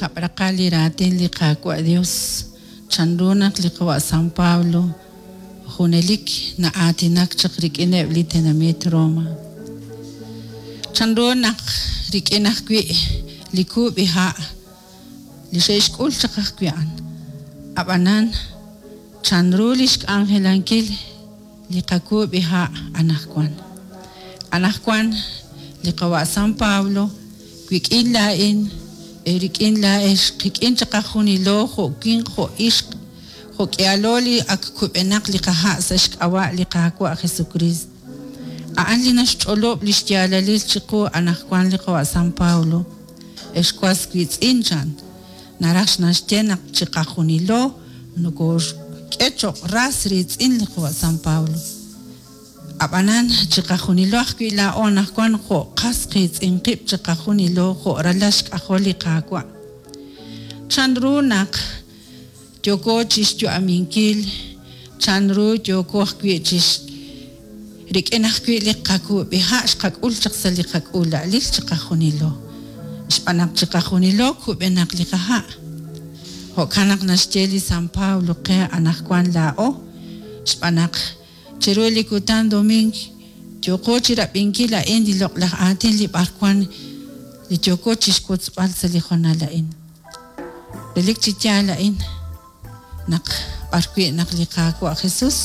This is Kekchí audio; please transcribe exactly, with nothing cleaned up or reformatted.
Kab' raqal li raatin li Qaawa' Dios, chanru naq li qawa' San Pablo junelik na'aatinak chaq rik'ineb' li tenamit Roma. Chanru naq rik'in ajwi' li kub'iha' li xe'xk'ul chaq ajwi' a'an. Ab'anan chanru li xk'anjelankil li qakub'iha' anaqwan. Anaqwan li qawa' San Pablo wik'in laa'in rik'in laa'ex qik'in chaq qajunilo jo' winq jo' ixq jo' k'ihalo li ak kub'enaq li qaha' sa' xk'ab'a' li Qaawa' Jesucristo. A'an li naxch'olob' li xyaalalil chiqu anaqwan li qawa' San Pablo. Ex was wiitz'in chan naraj naxye naq chiqajunilo nokooxk'e cho'q ras riitz'in li qawa' San Pablo. Ab'anan chiqajunilo ajwi' laa'o anaqwan jo' qas qiitz'in qib' chiqajunilo jo' ralal xk'ajol li Qaawa'. Chanru naq yooko chixyu'aminkil, chanru yooko ajwi' chix rik'in ajwi' li qakub'iha' xqak'ul chaq sa' li qak'uula'alil chiqajunilo. Xb'aan naq chiqajunilo kub'enaq li qaha'. Jo'kan naq naxye li San Pablo qe anaqwan laa'o, xb'aan naq chiru li kutan domingo yooko chirab'inkil a'in li loq'laj aatin li b'arwan li yooko chixwotzb'al sa' li hoonal a'in. Relik chi yaal a'in naq b'arwi' naq li Qaawa' Jesus